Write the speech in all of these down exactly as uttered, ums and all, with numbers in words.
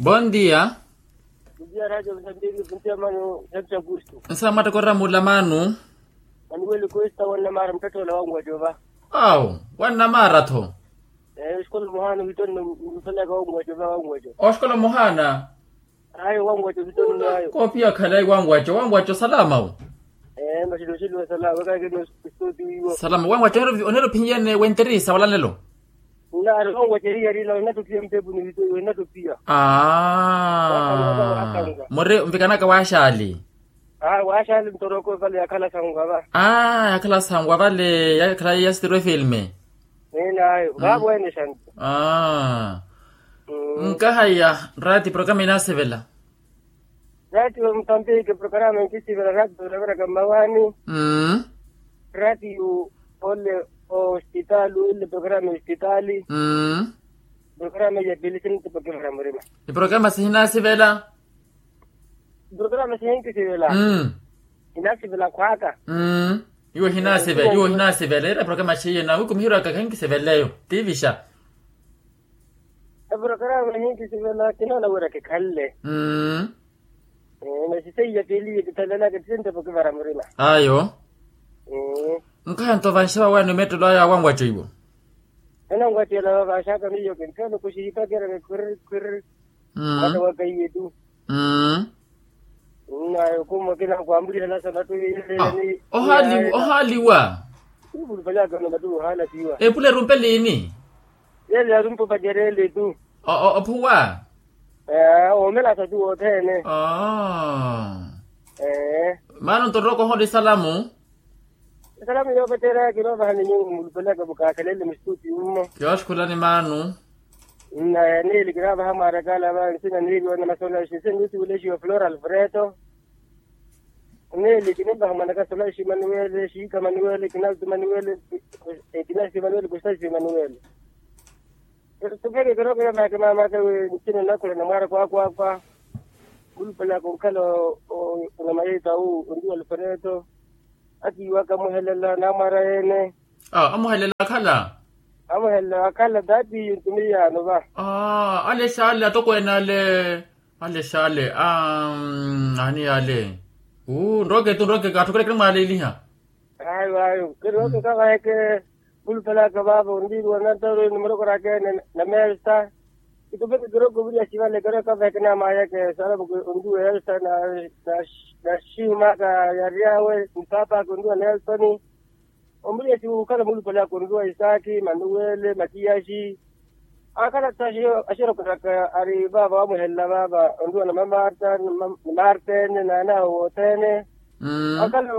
Bondia. Bondia radio msambiki puntia mano. Hepsa gusto. Nsa mwattekorera mulamanu. Manuweli kuista wanna mara mtattola wangu wajova. Awu. Wanna mara tho. Osikolo muhana wittonno. Msalaka wangu wajova wangu wajova. Osikolo muhana. Ayo wangu wajova wittonno ayo. Kopia khalayi wangu wajo wangu wajo salama wu. Masilosilwa salama kakeno. Salama wangu wajo. Onelo phinyi yene wenterisa walanelo. Nari wangu wajo eriyarila wenattopiya mpepu ni wittonno wenattopiya. Muri nvikanaka waxali. Aa waxali ntoroko vale yakhala sangu ava. Aa yakhala sangu avale yakhala yastirwe filme. Ninayo vavo ene xantu. Aa. Nkahaya rati programa inasivela. Rati wa mutambiki programa inkisivela rati olaveraka mmawani. Rati yu ole. Ospitali ole programa ya ospitali. Programa ya pili sinitipokivela murima. Iprograma sihinasivela. Programa sihinkisivela. Hinasivela khwaka. Iwo hinasivela iwo hinasivela ira programa siye na wikumihiwaka kahinkisiveleyo. Tivisha. Programa hinkisivela kinoona wira kikhalle. Masi seiya pili ye kithavelaka tisintepo kivara murima. Ayo. Nkhayanto vanxeva wani omettelo aya wanwaco iwo. Enanwattela vanxaka miyo kintthelo kuxihipakereke khwiriri khwiriri. Mata wakaiye tu. Nnayo kumwa kinakwambuliha nasana tu. Ohaaliwa. Ivulupanyaka na matu ohaala tiwa. Epula erumpe liini? Yele yarumpe opacerele tu. Ophuwa. Omelasa tu wothene. Maana nto roko ohole salamu. Esalamu yoopeterya kinoovaha ni nyuwo mulupelaka mukaakelele musituti mmo. Yooxukhulani maanu. Nna ya niili kinoovaha mwarakala va nsina niili wana masolaxi nsina nisiwulexiwa flora alfreto. Niili kinoovaha mwanaka solaxi manuwele xiika manuwele kinaltu manuwele. Kinaltu manuwele kustaxi manuwele. Tupeke kiroko yamake mamaka wi ntino nakhula na mwaara kwakwakwa. Khulupelaka onkhala. Onamayeta wu onriwa alfreto. Akiiwaka amuhelela namwara ene. Amuhelela akhala. Amuhelela akhala taati yintumi yaano va. Ale xale atokweene ale. Ale xale. Aani ale. Uu nroke tu nroke kaatthukele kinamwaaleliha. Ayo ayo kiri oke kavaheke. Khulupelaka vaavo onriwa nantaro nimurokoraka ene. Namelsa. Kitupeke kiroko viriya xivale kero kavaheke namayeke saravuku onriwa elsa. Naxihumaka yaryawe mpaapaka onriwa nelsoni. Omuliyasi wukhala mulupale akonriwa isaaki manuwele makiyaxi. Akhala thaxi axirokoraka ari vaava wamuhelela vaava onriwa na mamarta ni martene naanawe wothene. Akhala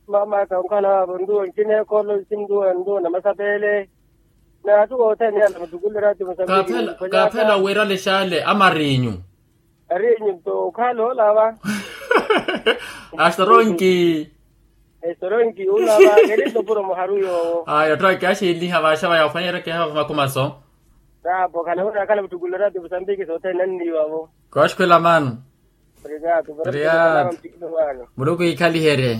mamaka onkhala vaava onriwa ncinekolo ncinriwa onriwa na masapele. Naathu wothene yala mutukulera ati musambiki. Kaaphela owerale xale amarinyu. Ari nto okhala ola va. Astoronki. Estoronki ola va keri ntopuro muharu yoowo. Aya otthu akiaxiliha vaxa vaya ofanyereke hava makhumaso. Tapo khana wira akhala muttukulera ti musambiki sothene nanniwavo. Kooxukhwela maano. Muluku ikhaliherye.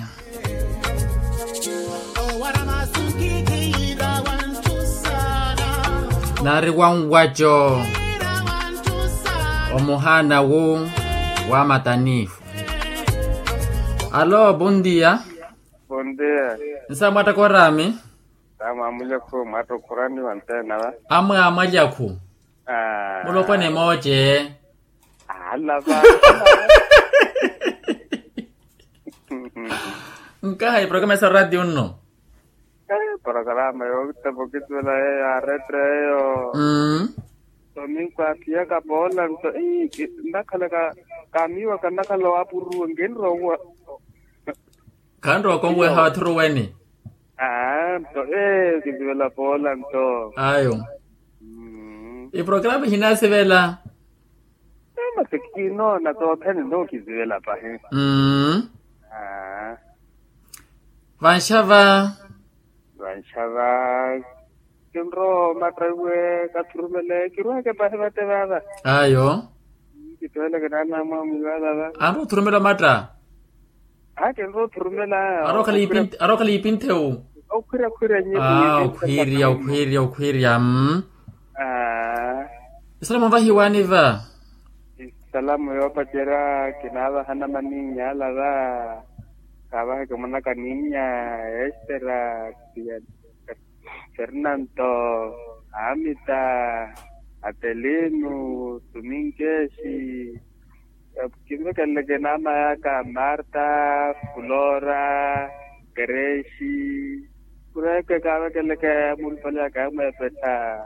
Nari wanwaco omuhaana wu wa matanifu. Alo bondia. Bondia. Nsa mwattakorami. Amwe amwalyakhu mwatta okhuraniwa ntena va. Amwe amwalyakhu. Mulopwana emooce. Alava. Nkaha eprokarama esa radio nno. Eprokarama yookitepa okituvela eyo aretre eyo. Domingo aphiyaka poola nto ii nnakhala ka kaamiiwaka nnakhala owaapuruwa nkinrowa. Khanrowa konweha wathuruweni. Aa nto ee okisivela poola nto. Ayo. Iprokarama ihinasivela. Masi kinoona sothene nookisivela pahi. Vanxava. Vanxava. Kinrowa omatta iwe kathurumele kirweke pahi vate vaava. Ayo. Kitooleke naana mwamwiivaala va. Anrowa othurumela omatta. Aa kinrowa othurumela. Arokhala ipinthewu. Okhwirya okhwirya nyi. Okhwirya okhwirya okhwirya. Aa. Esala mavahiwani va. Salamu yoopacerya kinaavahana maninnya ala va. Kaavaheke mwanaka ninnya, estera, fernanto, amita, atelinu, tuminkeshi. Kinvekeleke namayaka marta, flora, kereshi. Kureke kavekeleke mulupali aka yamwepettha.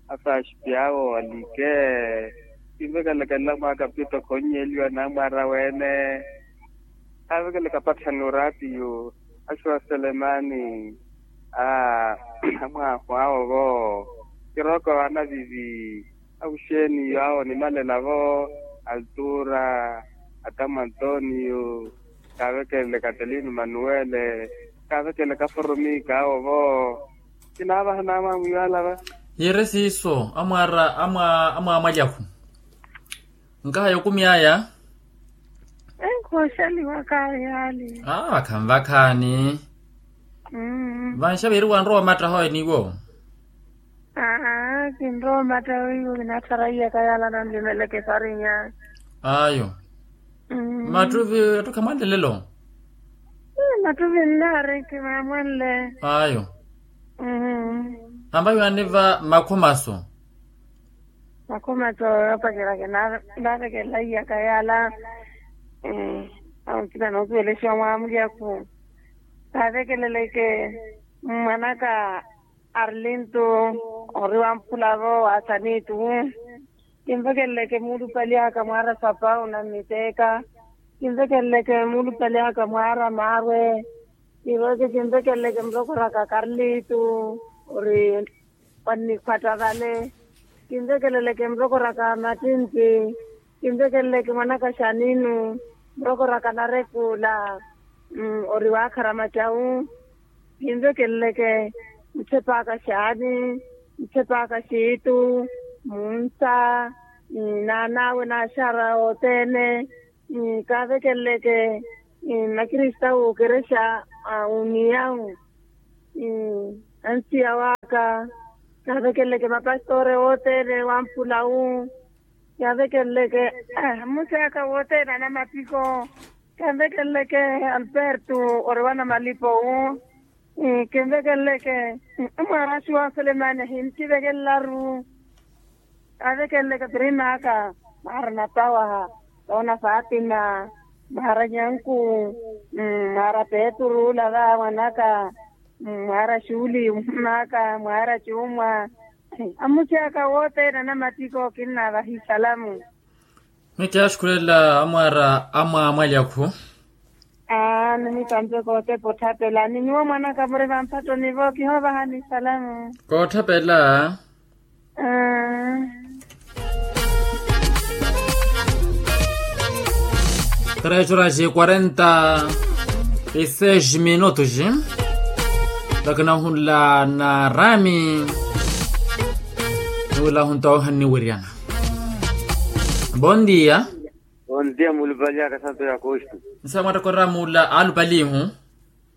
Afaxipiyaawo alike. Kinvekeleke nlamwaka pito khonnyeliwa namwara wene. Kavekeleke apatthani oraatiyo, axuwa selemani. Amwahu awo vo, kiroko anavivi. Akuxeeni yaawo nimalela vo, altura, atamu antonio. Kavekeleke atelino manuwele. Kavekeleke aforomika awo vo. Kinaavaha naamwamwiyo ala va. Hiire siiso amwaara amwaamwalyakhu. Nkaha yokumi aya. Enkhoxaliwaka yaali. Vakhanvakhaani. Vanxaviiri wanrowa omattaha oyo niwo. Aa kinrowa omattaha oyo kinattharaiyaka yaala nanlimeleke esarinya. Ayo. Mattuvi attukha mwanlelelo. Mattuvi nnaariki maamwanle. Ayo. Ambayo aniva makhumaso. Makhumaso yoopacerya kinaavekelelaiyaka yaala. Awo nkina noosuwelexiwa mwaamulyaku. Kaavekeleleke mwanaka arlintu ori wamphulavo wa sanitu. Kinvekeleleke muulupali aka mwaara sapau na mmiteeka. Kinvekeleleke muulupali aka mwaara maarwe. Kiroke kinvekeleleke murokoraka karlitu ori wannikhwatta vale. Kinvekeleleke murokoraka mattintti. Kinvekeleleke mwanaka xaninu murokoraka narekula. Ori waakhara macawu. Kinvekeleleke muthepaka xaani, muthepaka xiitu, munsa, naan'awe naaxara othene. Kaavekeleleke makristawu okerexa a uniyawu. Ansiya waka. Kaavekeleleke mapastore wothene wamphulawu. Kaavekeleleke mmusi aka wothene anamapiko. Kaavekeleleke alberto ori wanamalipo wu. Kinvekeleleke amwaara axuwa selemani ahinkivekelelaru. Kaavekeleleke prima aka mwaara napawaha, toona fatima, mwaara nyanku, mwaara petru lava mwanaka, mwaara xuli mwaaka mwaara cuumwa. Amusi aka wothene anamattiko kinnaavahi salamu. Mittya axukulela amwaara amwaamwalyakhu. Aa nimitampe kootepa otthapela ni nyuwo mwanaka muri vamphattoni vo kihoovahani salamu. Kootthapeela. Três horas e quarenta e seis minutos. Takina ohunla na rami. Niwila ohunta ohanniwiryana. Bon dia. Bon dia muulupali aka santo ya kostu. Nsa mwatta koramuula aalupalihu.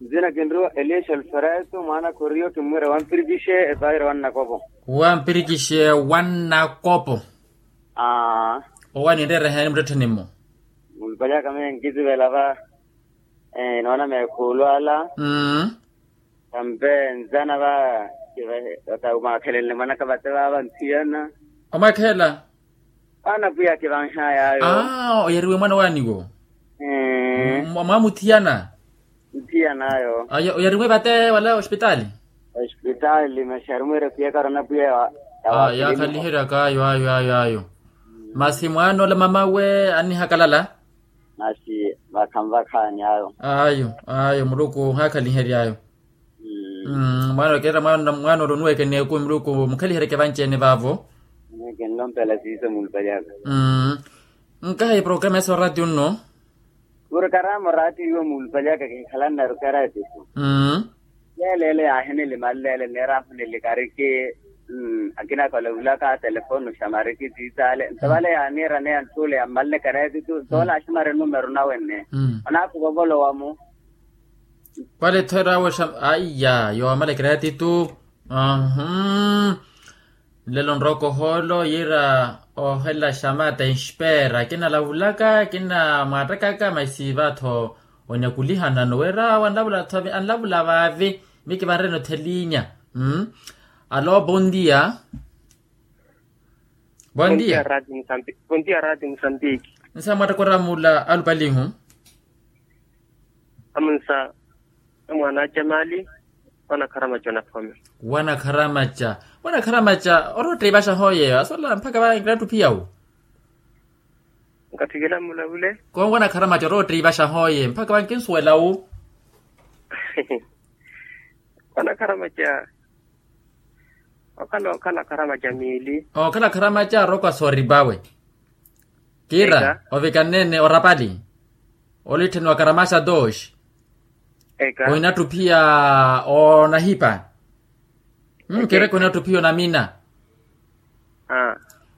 Nzina kinrowa elias alfredo mwaana koriyo kimmwira wampirikixe epaire wannakopo. Wampirikixe wannakopo. Aa. Owa ninreera eheeni muttettheni-mo. Muulupali aka meeyo nkisivela va. Inoona meekhuulu ala. Mmm. Tampe nzana va. Aka mwaakhelenle mwanaka vate vaava nthiyana. Omwakhela. Ana pwiya akivanhay'ayo. Aa oyariwe mwana waniwo. Mwamuthiyana. Nthiyanayo. Oyariwe vate wala ospitaali. Ospitaali masi arimwire pwiyaka arona pwiya. Yakhaliheryaka ayo ayo ayo ayo. Masi mwaana ola mamawe annihakalala. Masi vakhanvakhaani ayo. Ayo ayo muluku ohakhaliherya ayo. Mwaana okeera mwaana ori onuweke n'ekumi muluku mukhaliheryeke vanci-ene vaavo. Kinlompela siiso muulupali aka. Nkahi programa esa oraatiyo nno. Porokaramu oraatiyo iwo muulupali aka kinkhalanna rukaraatiyo. Leelo ele yaahinilimalleele neera aphunilikariki. Akina aka olevulaka telefoni oxamariki tiitaale nto vale yaaniiraneya ntthuule yammalle karaatiyo nto vale axamare numero nawe nne. Onaakuva ovolowa-mu. Vale tthera awe xa aiya yoomalekera yatitu. Ahum. Nlelo nrooko ohoolo yiira, ohela xamata enxpeera kinalavulaka kinamwaattakaka masi va-tho, onyakulihanano wira awo anlavula-tho anlavula vaavi. Mikivanrene othelinya. Alo bondia. Bondia. Bondia rati musambiki. Nsa mwatta koramula alupalihu. Amunsa. Mwaana a jamali. Wanakharamaca onaphome. Wanakharamaca. Wanakharamaca oroottiivaxa hooye asola mpakha va nkinattuphiya wu. Nkatthikela mmulavule. Koonwa wanakharamaca oroottiivaxa hooye mpakha va nkinsuwela wu. Wanakharamaca. Okhala okhala akharamaca miili. Okhala akharamaca aroko asooripawe. Kiira ovikannene orapali. Olittheni wa karamaxa dos. Eka. Ohinattuphiya onahipa. Kiira ehinattuphiya onamina.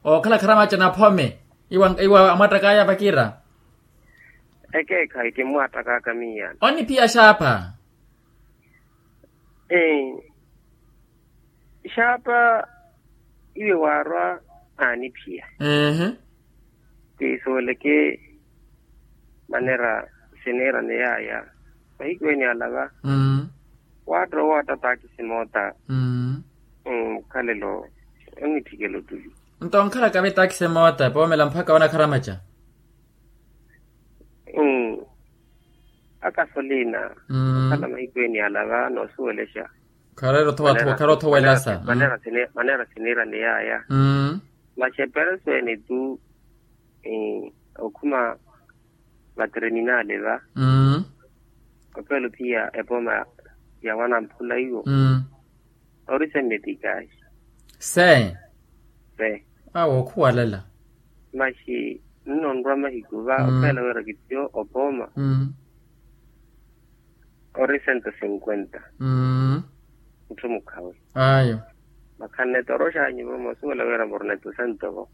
Okhala akharamaca naphome. Iwa amwattakaya vakiira. Ekeekhayi kimmwattakaka miiyana oniphiya xaapha. Xaapa iwe waarwa aaniphiya. Kiisuweleke manera siniirane yaaya. Mahiku ene alava waatta owaatta taakisi moota. Mukhalelo onitthikela ottuli. Nto onkhalaka ve taakisi moota poomela mpakha wanakharamaca. Akasolina. Okhala mahiku ene alava noosuwelexa. Khareera otho wela sa. Manera siniirane yaaya. Masi epereso ene tu okhuma vatereminale va. Opeela ophiya epooma ya wanamphula iwo. Ori se metikasi. Se. Se. Awo okhuwalela. Masi nno onrwa mahiku va opeela wira kittiyo opooma. Ori sento sinkwenta. Mutthu mukhawe. Ayo. Makhanne toroxanyu vo moosuwela wira murneto sento vo.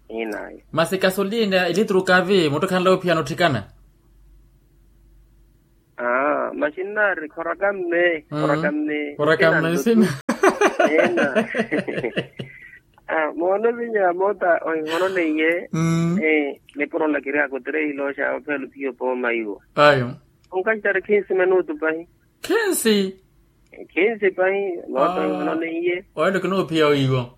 Inayo. Masi kasolina elitru kavi mutthu khanla ophiyana otthikana. Aa masi nnaari khoraka mme khoraka mme. Khoraka mme sina. Ena. Moona ovinya moota ohihononeiye. Nipuro nlakiryaka otirehilooxa opheela ophiya opooma iwo. Ayo. Onkaxitari khinsi minutu pahi. Khinsi. Khinsi pahi. Moota ohihononeiye. Oyo kinoophiya oiwo.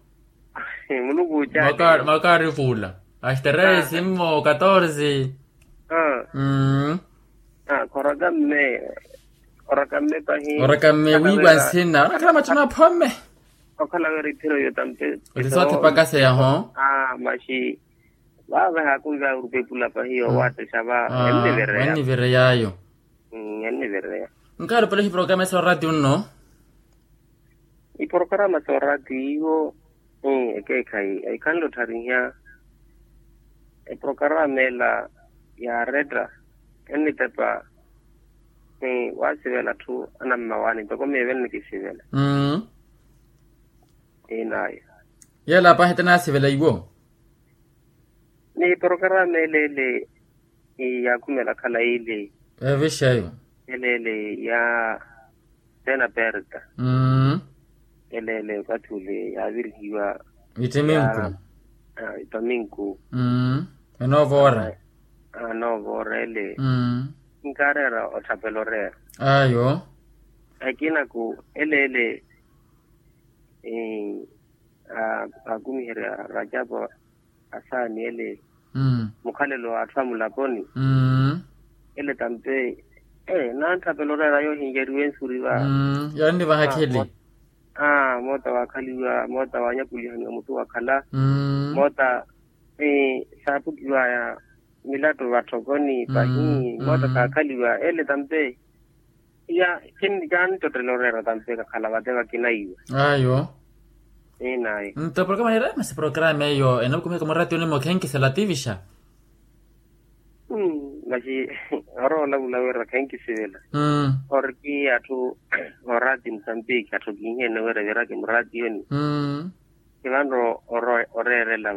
Muluku ocaale. Makaari fuula. Axiteresi mmo katorsi. Mmm. Khoraka mme. Khoraka mme pahi. Khoraka mme wiiwa nsina onakhala matthu naphome. Okhala wira iphiro iyo tampe. Otisoothipakaseya ho. Masi. Vaava ehaakunve aurupepula pahi yowaattisa va. Ennivereyaayo. Ennivereyaayo. Nkaari opela ihiprokarama esa oraatiyo nno. Iprokarama sa oraatiyo iwo. Ekeekhayi ekhanle otthariha. Eprokarama ela yaaretta ennitepa. Waasivela atthu anammawaani ntoko miyo evennikisivela. Inayo. Yeela pahi tinaasivela iwo. Ni porokarama eleele yaakhumela khalayi ile. Evixeyo. Eleele ya sena perta. Eleele okathi ule yaavirihiwa. Itiminku. Itaminku. Enoova ora. Enoova ora ele. Nkaareera otthapela oreera. Ayo. Akinaku eleele. Aakumiherya rajapu asaani ele. Mukhalelo wa atthu a mulaponi. Ele tampe. Nantthapela oreera yoohinjeriwe nsuri va. Yaannivaha akhili. Moota waakhaliwa moota waanyakulihaniwa mutu wakhala. Moota saapukiwaya milatto vatthokoni pahi moota kaakhaliwa ele tampe. Iya. Kinttottela oreera tampe kakhala vate vakinaiwa. Ayo. Inayi. Nto programa nira masi programa eyo enavukumihaka muraatiyoni-mo khenkisela tivixa. Masi orola vula wira khenkisivela. Oriki atthu oraati musambiki atthu kihiene wira viraki muraatiyoni. Kivanre oreerela.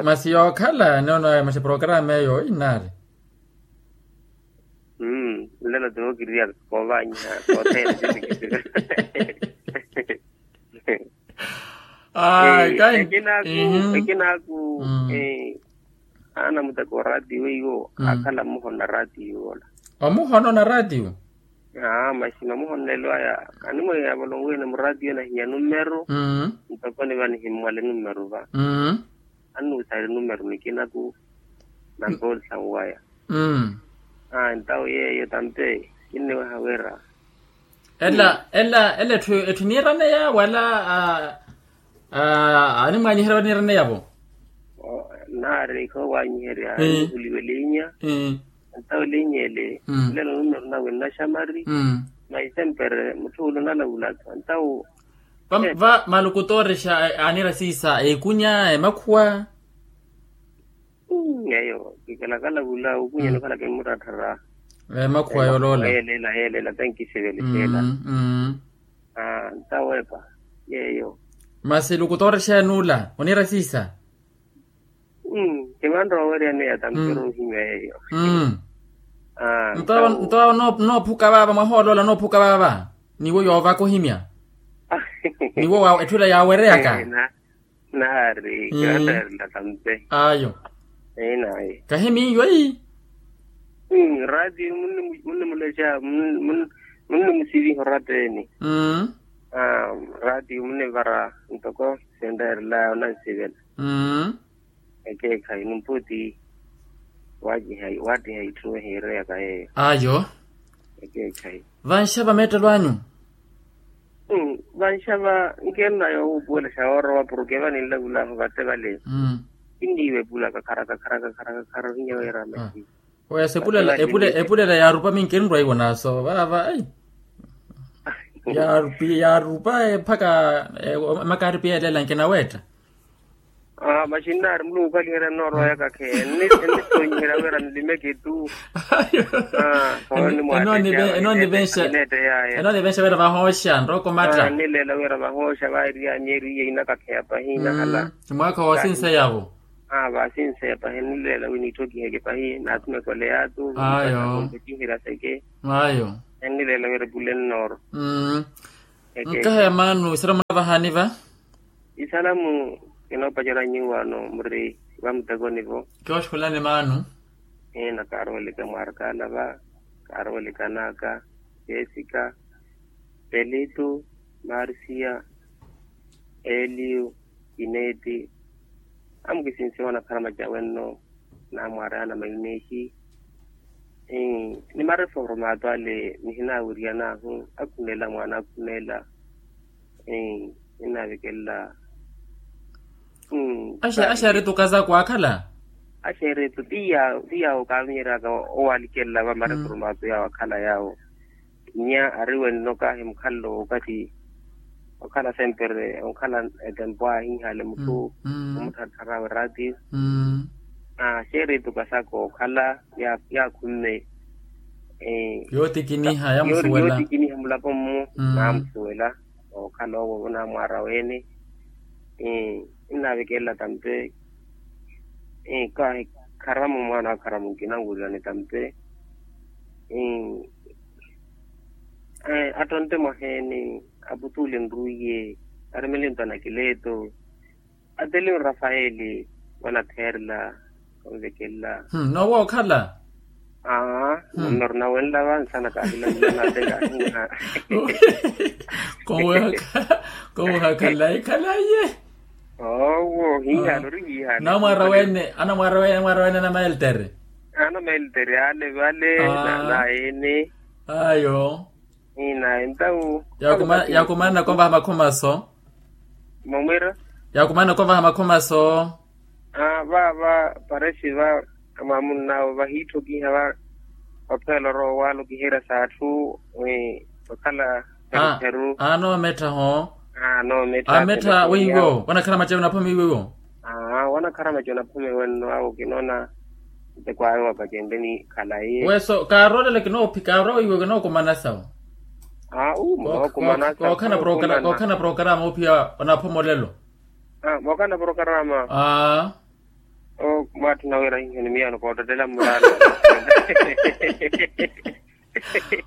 Masi yookhala nono masi programa eyo inaari. Nlelo tivo kiriya koovaanyiha koothene. Ayi. Ekinaaku, ekinaaku. Aana muteko wa raatiyo weiwo aakhala mmuhono na raatiyo ola. Omuhono na raatiyo. Aa masi mamuhonelo aya animweeya volonwene muraatiyo nahinya numeru. Ntoko niva nihimmwale numeru va. Annuusaari numeru nikinaku na mpoolisanwaya. Aa ntawo yeeyo tampe kinniweha wira. Ela ela ela etthu etthu niiraneya wala? Animwaanyiherya wala niiraneya-vo? Naari khawaanyiherya nihuliwe liinya. Ntawo liinya ele nlelo numeru nawe nnaxamari. Maisempere mutthu ula onalavulaka ntawo. Va malukutoorexa aanira siisa ekunya emakhuwa. Yeeyo kikalakala vula okunya nikhala kimmuttatthara. Emakhuwa yooloola yeelela yeelela tenkisivele xeela. Ntawepa yeeyo. Masi lukutoorexa enuula oniira siisa. Kimanrowa oweryaneya tampero ohimya yeeyo. Nto awo noophuka vaava mwahooloola noophuka vaava niwo yoovaka ohimya. Niwo etthu ila yaawereyaka. Naari kiwantaherela tampe. Ayo. Einayi. Kahi miyo eyi. Raatiyo munnimulexa munnimusiviha oratta ene. Raatiyo munnivara ntoko sintaherelaya onansivela. Ekeekhayi numputi. Waattiha itthu ehiireyaka yeeyo. Ayo. Ekeekhayi. Vanxava meettelo anyu. Vanxava nkeerina yoohuupuwela xa woorowa porke vaninlavulahu vate vale. Kinniiwa epula kakhara kakhara kakhara kakhara ohinya weera masi. Wesa epulela epulela yaarupa minki enrwa iwonaaso vaava ai. Yaarupa mpakha makaaripiya elela nkinaweetta. Maxinnaari muluku okhaliherya nnoorowa yakakhe ennisonyiherya wira nlimeke tu. Enoonivenxa wira vahooxa nrooko matta. Nnileela wira vahooxa vairiya myeeri iye inakakheya pahi nahala. Mwaakha woosinseya-vo. Vaasinseya pahi nnileela wi niitthokiheke pahi naathumeke oleya-tu. Ayo. Nnileela wira epule nnooro. Nkaha ya maanu isaramu navahaani va. Isalamu kinoopacerya nyuwo ano muri vamuttekoni-vo. Kioxukhulani maanu. Ina kaaroolika mwaarkaala va kaaroolika naaka jesika, pelito, marsiya, eliyo, kineeti. Amukisinsiwa onakhala macawenno naamwaarayana maineexi. Ni mareformato ale nihinaawiryanahu akhunela mwaana akhunela. Ninnaavikelela. Axeeritu kazako aakhala. Axeeritu ti yaawo kaavinyeryaka owalikelela va mareformato yaawo akhala yaawo. Nnya ari wenno kahi mukhalelo wookathi okhala sempre onkhala etempo ahiihale mutthu omuttharthar'awe raatiyo. Axeeritu kasaka okhala yaakhumme. Yootikiniha yaamusuwela. Yootikiniha mulapo-mmu naamusuwela. Okhala owo onamwaara weene. Ninnaavikelela tampe. Kahi kharamo mwaana wa kharamo nkinanwulilani tampe. Attonte mwaheeni aputuule nruiye. Aremele nto anakileeto. Ateliyo rafaeli wanatheerela. Onvekelela. Noowa okhala. Aa numero nawenla vansana kahilamulana ate kahiha. Koweha khalayi khalayi ye. Owo hiihana ori hiihana. Namwaara wene anamwaara wene anamwaara wene anamaeltere. Anamaeltere ale vale. Nayene. Ayo. Ina entawu. Yakumanana kovaha makhomaso. Momwira. Yakumanana kovaha makhomaso. Vaava paresi va amwamunn'awo vahiitthokiha va. Opheela orowa owaalo kiherya s'atthu. Okhala. Pheruperu. Anoomettha ho. Anoomettha weiwo wanakhala macewe naphome weiwo. Aa wanakharamaci onaphome wenno awo kinoona. Nte kwaayo wapacenteni khalayi. Weso kaaroolele kinoophika arowa iwe kinookumana sawo. Aa uu munookumana sawo. Kookhana porokarama oophiya onaphomolelo. Aa mookana porokarama. Aa. Mwaatthuna wira hiho ni miyano koottettela mmurano.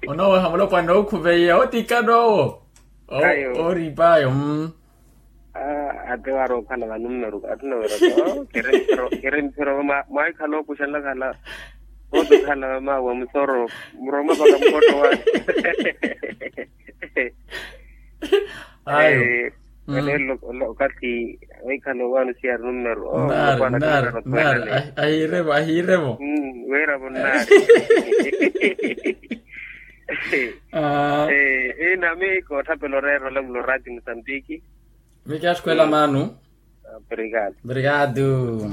Onooweha mulopwana ookhuveiya otikana owo. Ooriip'ayo. Ate waari okhala vanummeru atthuna wira to kiri mphiro mwaikhala okuxanla khala. Kooto khala mama wa musoro muroma vaka mukotto wa. Ayo. Aleelo okathi waikhala owaano siyari nummeru. Nari nari nari. Ahiirevo ahiirevo. Wiiravo nnari. Ina mi koothapela oreera olamulo rati musambiki. Miki axukhwela maanu. Obrigado.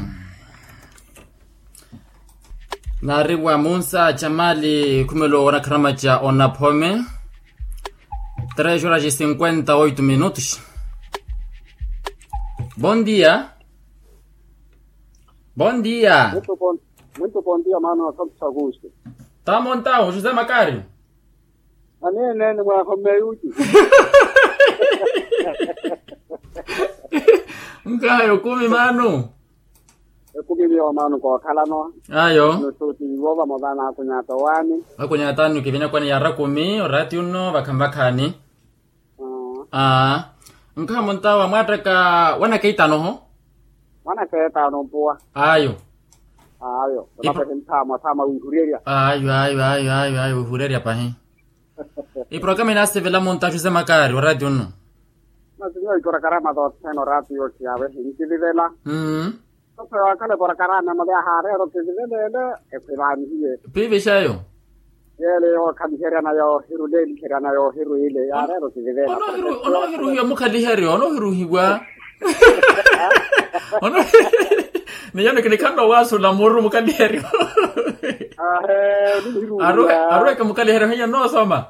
Naariwa munsa jamali khumelo wa nakharama ja onaphome. Tres horas e cinquenta oito minutos. Bon dia. Bon dia. Muito bon dia maano asanto sakuusti. Tamontawo josé makario. Aneene ni mwaahomme yuti. Nkhayo kumi maanu. Ekumi miyo maanu kookhalano. Ayo. Nusuti iwo vamola naakunyata owaani. Vakunyatani okivinya kwani yara kumi orati unno vakhanvakhani. Aa. Nkhayo muntawa mwaattaka wanakeitano ho. Wanakeitano mpuwa. Ayo. Ayo. Ayo ayo ayo ayo ayo wihuryerya pahi. Iprokarama inaasivela munta axuse makaari wa rati unno. Masi miyo iprokarama tothene orati yoxiyaawe hinkilivela. Mmm. Sasa wakhala eprokarama emole ahaareera okilivela ele. Ekhwivaanihiye. Piivixayo. Yeele yookhaliheryana yoohiru leeliheryana yoohiru ile yaareera okilivela. Onoohiruhiwa mukhaliheryo onoohiruhiwa. Ono. Ni yano kinikhanle owaasula muru mukaliheryo. Arweke mukaliheryo hiyo noosoma.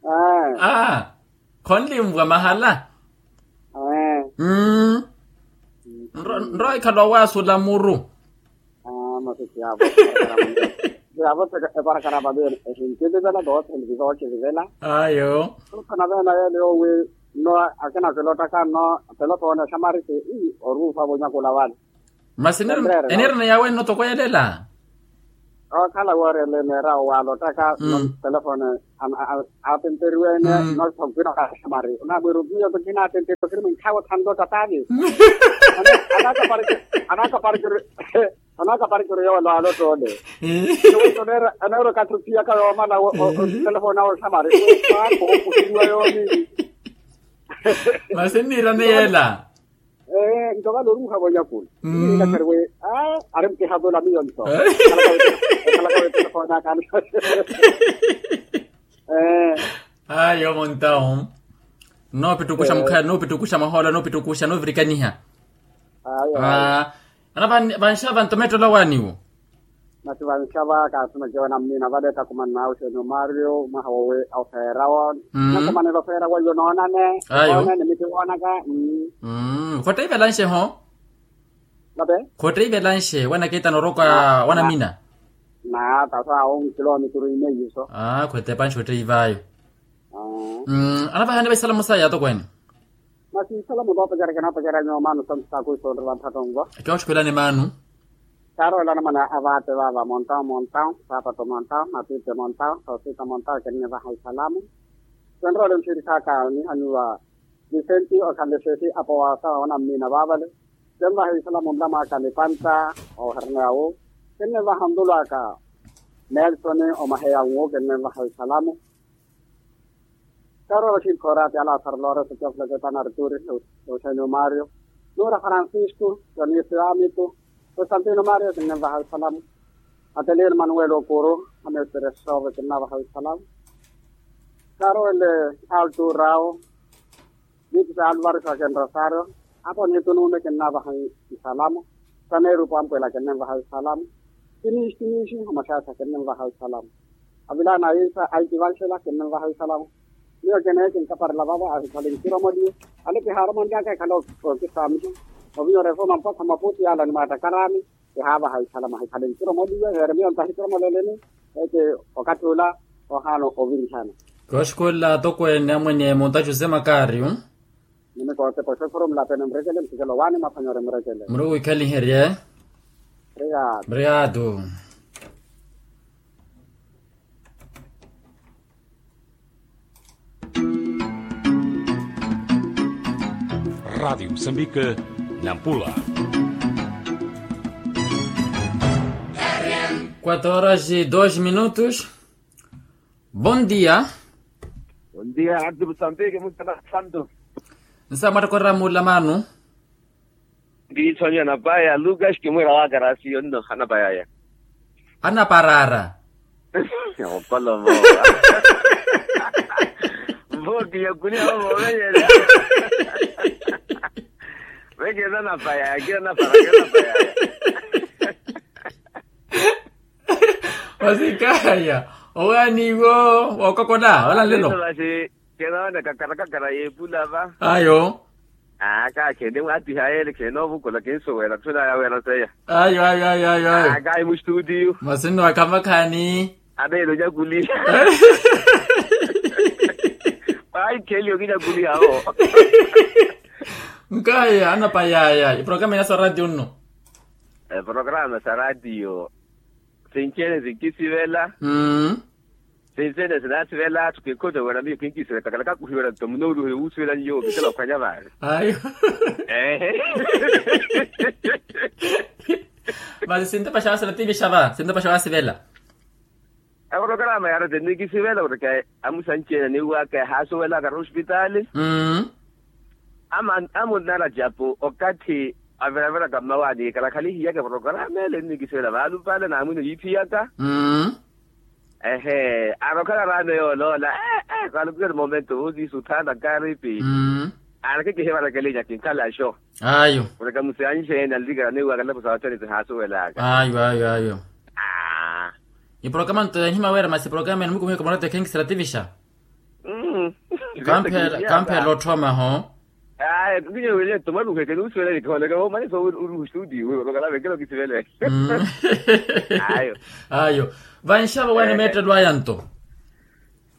Aa. Khonlimvwa mahala. Nrowa ikhala owaasula muru. Masi siyavo. Siyavo. Eparakara vavene ehinkilivela voothene vivookilivela. Ayo. Khana vena yele yowi. Nno akina kilottaka nno telefone xamarisi. Oruuha vonyakula vale. Masi eniirina yaawe nno toko yelela. Okhala woorele neera owaalottaka nno telefone. Aatenteriwene nno sonkina okaxamari onamwiru miyo tokina aatenteriwe kiri mwinkhawe othanlo tatani. Anakaparikiri. Anakaparikiri yoole alotta ole. Eneera okathi ophiyaka yoomala otelefoni awe osamari. Okhusiliwa yoomi. Masi nniirane yeela. Nto vale oruuha vonyakula. Nniilakhariwe. Ari mkihavula miyo nto. Ekhalaka wetelefoni aka. Ayo muntawo. Noopittukuxa mukhaya noopittukuxa mahoola noopittukuxa noovirikaniha. Ayo. Ana vanxava nto meettola waaniwo. Masi vanxava kaatumeke wena mmiina vale takumani naawe oxeeni omario mwaha wowe ofeerawo. Nakumanela ofeerawo iyo noonane. Ayo. Noonane miti woonaka. Khotteivela nxeho. Khotteivela nxe wena keitana oroka. Wanamina. Naa tasa awo nkilomituru ine iso. Khwetepa nxe otteivayo. Anavahani vaisalamu saya atokweene. Masi isalamu voopacerya kinoopacerya nyuwo maanu santu saakuisoonrela mphattonvo. Kioxukhwelani maanu. Kaaroolana mwana avaatte vaava montawo montawo saapato montawo matiitte montawo sosita montawo kinnivaha isalamu. Kinroole nxiiri saaka nihaniwa. Visenti okhanle xeefi apo waasawa wanammina vaavale. Kenvaha isalamu nlamwaaka nipanta. Ooherene awo. Kinnivaha ntulwaaka. Nelsoni omaheya nwo kinnivaha isalamu. Karoora xinkhooraati alaasara loora sotyafulaketana arturi. Oxenio mario. Nuura francisco. Dionisio amitu. Constantino mario kinnavaha isalamu. Atelino manuel okuru. Amestere sove kinnavaha isalamu. Karoele altu rao. Niitu sa alvaro sa kenrosario. Apo niitu nuume kinnavaha isalamu. Saneeru pampwela kinnenvaha isalamu. Kiniisi kiniisi omaxaasa kinnenvaha isalamu. Avilana aisa aitivanxela kinnenvaha isalamu. Miyo kineeke nkaparela vavo ahikhale nkiromoliwe. Alepe haaromonlyaka ekhale okisaamiha. Ovinyora efoma mpakha maputi yala ni maatakarani. Kihaavaha isalamu ahikhale nkiromoliwe heere miyo ntahitiromoleleni. Eke okathi ula ohaana ovirihana. Kooxikolela atokweene amwene munta jose makario. Nimikoote poxo ekhuru mulapene murekele musikelo waani mwaphwanyore murekele. Muri wikhaliherye. Obrigado. Obrigado. Rádio Moçambique, Nampula. Quatro horas e dois minutos. Bom dia. Bom dia, Rádio Moçambique, muito bem, Santo. Nsa mwattoko oramuula maanu. Ndiitho nyana paya Lucas kimwira wakarasi yonno anapayaya. Anaparara. Okolomo. Mboki yakuliha omovenyerya. Vekeza napayaya kila napara kila napayaya. Vasikaya owaani iwo wookokola wala nlelo. Vasi kenoona kakara kakara yeepula va. Ayo. Aa kaakhendi mwaatiha yeele kheenoovukula kinsuwela tthuna yaweera seya. Ayo ayo ayo ayo ayo. Aa kaayi mustutiyu. Masi nno akhamakhaani. Aneelo nyakuliha. Paikhelyo kinyakuliha wo. Nkaya anapayaya iprograma ina sa ratio nno. Eprograma sa ratio. Sinci ene sinkisivela. Sinci ene sinasivela atthu kinkhoto wira miyo kinkisivela kakala kakuhiwela nto muno oluhele wuusivela nyuwo kitela okhwanya vale. Ayo. Ehe. Masi sintapaxa wasivela tivixa va sintapaxa wasivela. Eprograma yaarete nnikisivela wira ke amusanci ene niwaka ehaasuwelaka ri ospitaali. Amunnala japu okatthi aviraviraka mmawaani kala khalihiyaka eprograma ele nnikisivela vaalupale naamwino yiiphiyaka. Ehe aari okhala raano yooloola. Ee kaalukiweri momento oziisa otthaana kaaripi. Aari akikihivara kelinya kinkhala axo. Ayo. Mureke musiyanxe ene anlikela niwaka nlapo sa ottene tihaasuwelaka. Ayo ayo ayo. Iprograma nto yanhima wira masi iprograma ene mukumihe komorata ekhenkisela tivixa. Kamphela otthoma ho. Ayo. Ayo. Vanxavo waani meettelo aya nto.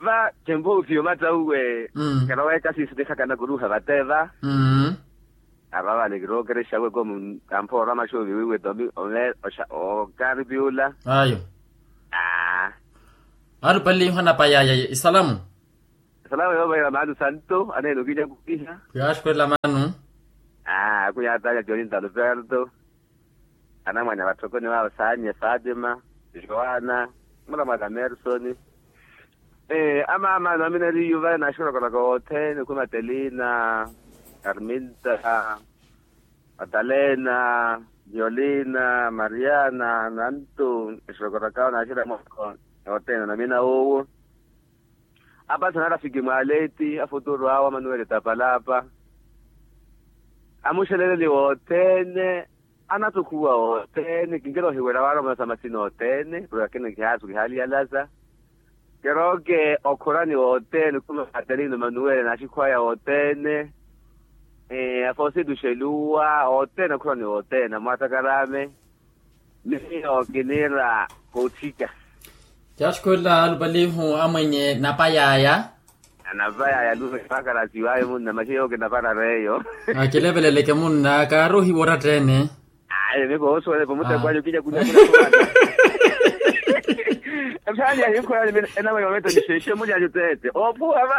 Va tempo ufiyo matta uwe. Kala weekasiisi nihakana kuruha vate va. Arava ni kirookerexa weko kamphoora maxoovi wiiwe tomi ome oxa okaari piula. Ayo. Aa. Aari opaliho anapayaya isalamu. Isalamu yoovayela maanu santo aneene okinyakuliha. Yaaxukhwelela maanu. Aa akunyaatanya joni ntaluperto. Anamwane a vatthokoni vaavo saanye fatima, joana, mulamwaka mersoni. Amaama naminariyu vale naxurokoroko wothene khumatelina, arminta, matalena, violina, mariana, nantu, exurokorokao naxira moko. Wothene namina wowo. Apasa narafiki mwaleti afuturu awo amanuwele tapalapa. Amuxeleleli wothene. Anatukhuwa othene kinkela ohiwela wala omasa masina othene purke akina kihaasu kihaliyalasa. Kerooke okhurani wothene khuma katerina manuwele na axikhwaya othene. Afosituxeluwa othene okhurani wothene amwatakarame. Miyo kiniira koothika. Caxukhwelela alupalihu amwenye napayaya. Anapayaya lume pakarasi wayo munna maxi yooke naparara eyo. Akileveleleke munna kaari ohiwa oratta-ene. Ayi miko osuwelepo mutteko anyu kinya kunya kuna. Ephaani ahinkhola enamwe yometo nixexe mulyanyu tete opuwa va.